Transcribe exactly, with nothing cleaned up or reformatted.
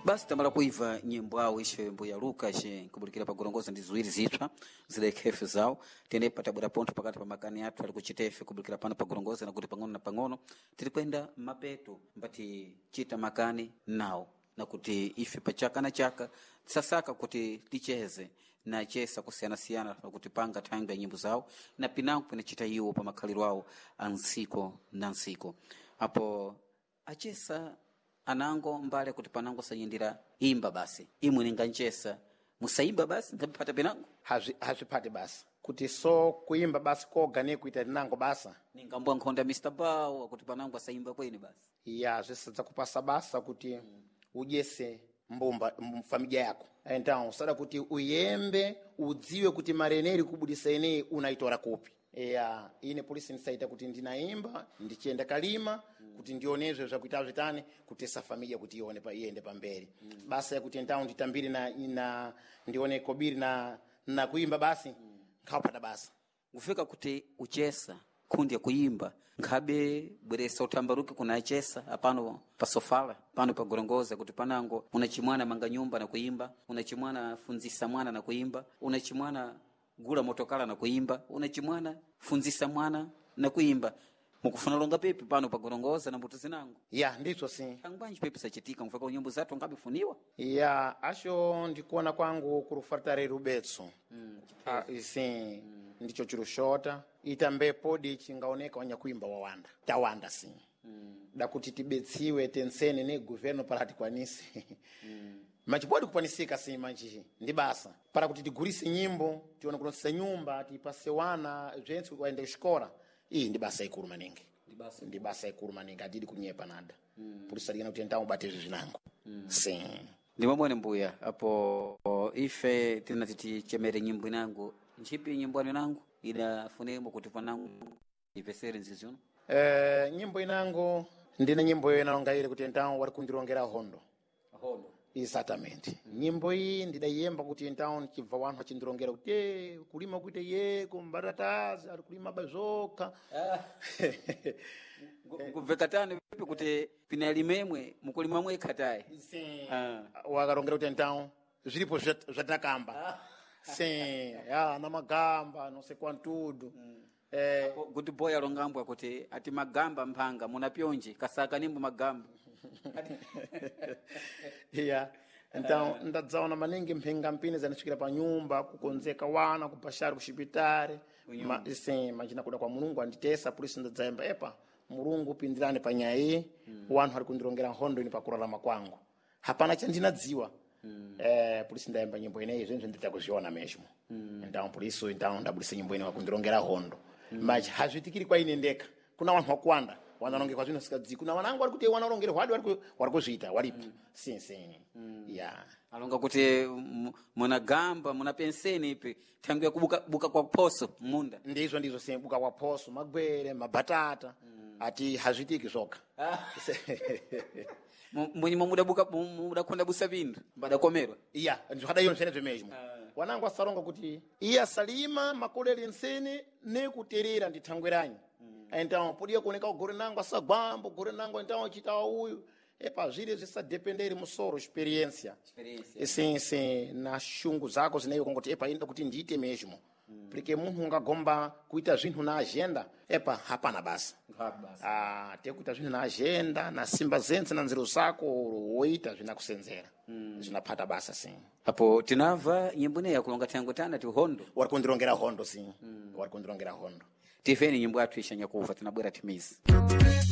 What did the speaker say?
Basi tamala kuiva nyimbo awo ishe mbuya Lucas nkubulikira pagorongoza ndi ziwiri zipsa zilekhefe zawo tenepa tabwera pontho pakati pa makani athu ali kuchitefe kubulikira pano pagorongoza nakuti pang'ono na pang'ono tiri kwenda mapeto mbati chita makani nawo nakuti ife pachaka na chaka tisasaka kuti ticheze na chesa kusiyanasiyana pakuti panga thangwi ya nyimbo zawo na pinango pinachita iwo pa makhaliro awo a ntsiko na ntsiko apo achesa anango mbale kuti panango sanyindira imba basi imwe ninganchesa musaimba basi nkaphata pinango Hazvi- hazviphati basa kuti so kuimba basi koga nekuita tinango basa ningambwa nkhonda Mr Bow akuti panango asaimba kweni basi ya zvisadza kupasa basa kuti udyese mbumba m- familia yako então usada kuti uyembe udziwe kuti mari ineyi iri kubudisa ineyi unaitora kupi ya ine polisi ndisaita kuti ndinaimba ndichienda kalima kuti ndionezve zvakuita zvitani kutesa familia kuti ione pa iende pamberi basa yakuti então nditambire na, na ndione kobiri na, na kuimba basi nkhawapata basa kufika kuti uchesa kundi ya kuimba nkhabe bweresa utambaruke kuna achesa apano pasofala pano pagorongoza kuti panango unachimwana manga nyumba na kuimba unachimwana funzisa mwana na kuimba unachimwana gula motokala na kuimba unachimwana funzisa mwana na kuimba mukufuna longa pepi pano pagorongoza na mbuto zinango ya ndizvo si angwanji pepi sachitika mfaka nyimbo zathu ngabifuniwa ya asho ndikuona kwangu kurufartare rubetso mm, sim mm. ndicho chirushota itambe podi chingaoneka wanyakuimba wawanda tawanda sim mm. dakuti tibetsiwe tensene ne governo para tikwanise mm. machipodi kukwanisika sim manji ndi basa para kuti tigurise nyimbo tione kunosisa nyumba tipase wana zvense waende kuxikora iyi ndi basa ikulu maningi ndi basa ikulu maningi atidi kunyepa nada mm. purisalikana kuti entawo ubate izvi zvinango mm. sim ndimwamwene mbuya apo o, ife tinati tichemere nyimbo inango ntchipi nyimbo anu inango idafunemo kuti panango ipesere nzizi uno Eh, nyimbo inango ndine nyimbo iyo inalonga ile kuti entawo wari kundirongera hondo hondo exatamente nyimbo iyi ndidayiyemba kuti entawo chibva wanthu achindirongera kuti "Eh, kulima kuite ye kumbatatazi ari kulima bazokha kubveka tani vipi kuti pinalimemwe mukulima mwekhatayi Sim. Ah. wakarongera kuti então zviripo zvat- zvatinakamba sim ya namagamba não sei quantudo eh, kuti boy alongambwa kuti ati magamba mphanga muna pyonji kasaka nimbo magamba yeah então ndadzaona maningi mphingampini zanisvikira pa nyumba kukonzeka wana kupashari kuxipitari Ma, sim machina kuda kwa mulungu anditesa polisi ndadzayemba epa mulungu pindirani pa nyaya iyi mm. wanthu ari kundirongera nkhondo ini pakurarama kwangu hapana chandinadziwa mm. eh, polisi ndayemba nyimbo ineyi zvinhu ndidza kuzviona mesmo mm. então polisi então ndabudisa nyimbo ine wakundirongera hondo mm. machi hazvitikiri kwa ine ndeka kuna wanthu wakuwanda wanarongekwa zvinhu sikadzi kuna wanangu wari kuti wanarongerwa hwadi wari ku- wari kuzviita waripo mm. sim sim mm. yeah alonga kuti mu- munagamba muna penseni ipi thangu ya kubuka buka kwa phoso munda ndizvo ndizvo sim buka kwa phoso magwere mabatata mm. ati hazvitiki zvoga mwenyimo mudabuka mudakonda busa vindu mbadakomerwa iya ndizvakadaiyo zvenezvo mesmo wanangu asaronga kuti iye asalima makolele nsene nekuterera ndithangweranyi mm. então podia kuoneka ugore nangu asagwamba ugore nangu então achitawa uyu epa zviri zvisadependeri musoro experiência Experiência. sim sim na shungu zako zineyo kongoti epa inoda kuti ndiite mesmo porque munhu ungagomba kuita zvinhu na agenda epa hapana basa ah, tekuita zvinhu na agenda na simba zentse na nziro zako woita zvinakusenzera mm. zvinaphata basa sim apo tinamva nyimbo ineyi yakulonga thangu tana ti hondo wari kundirongera hondo sim mm. wari kundirongera hondo tiveni nyimbo yathu ishanyakuva tinabwera timizi